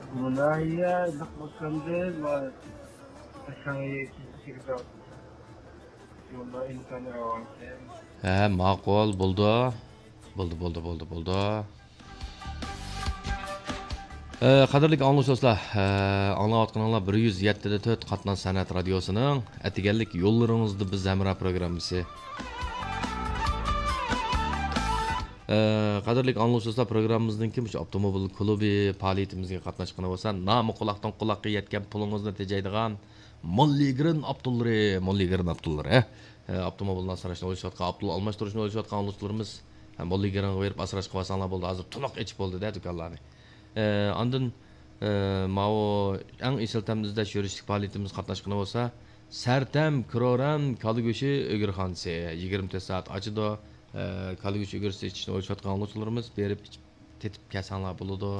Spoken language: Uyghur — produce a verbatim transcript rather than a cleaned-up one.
بۇ ناھىيە لىق بولسامدى، ما-، شاڭيى كېسىشىگە يولدا ئىمكان راۋانكەن. ھە، ماقۇل، بولدى. بولدى، بولدى، بولدى، بولدى. ئە، قەدىرلىك ئاڭلىغۇچى دوستلار، ئە، ئاڭلاۋاتقىنىڭلار بىر يۈز يەتتە دە تۆت قاتناش سەنئەت رادىيوسىنىڭ ئەتىگەنلىك يوللىرىڭىزدا بىز ھەمراھ پروگراممىسى. ئە، قەدىرلىك ئاڭلىغۇچى دوستلار، پروگراممىمىزنىڭكى مۇشۇ ئاپتوموبىل كۇلۇبى پائالىيىتىمىزگە قاتناشقىنى بولسا، نامى قۇلاقتىن قۇلاققا يەتكەن پۇلىڭىزنى تېجەيدىغان موللىگرىن ئاپتوللىرى، موللىگرىن ئاپتوللىرى، ھە؟ ئە، ئاپتوموبىلنى ئاسراشنى ئويلىشىۋاتقان، ئاپتوموبىل ئالماشتۇرۇشنى ئويلىشىۋاتقان ئاڭلىغۇچىلىرىمىز، ھە، موللىگرىنغا بېرىپ ئاسراش قىلىۋالساڭلار بولدى. ھازىر تولۇق ئېچىپ بولدى-دە دۇكانلارنى. ئە، ئاندىن، ئە، ماۋۇ ئەڭ ئېسىل تەمنى ئىزدەش يۈرۈشلۈك پائالىيىتىمىزگە قاتناشقىنى بولسا، سەرتەم كرورەن كالا گۆشى ئۆگرىخانىسى يىگىرمە تۆت سائەت ئاچىدۇ. ئە، كالا گۆشى ئۆگرىسى ئىچىشنى ئويلىشىۋاتقان ئاڭلىغۇچىلىرىمىز بېرىپ ئىچىپ، تېتىپ كەلسەڭلار بولىدۇ.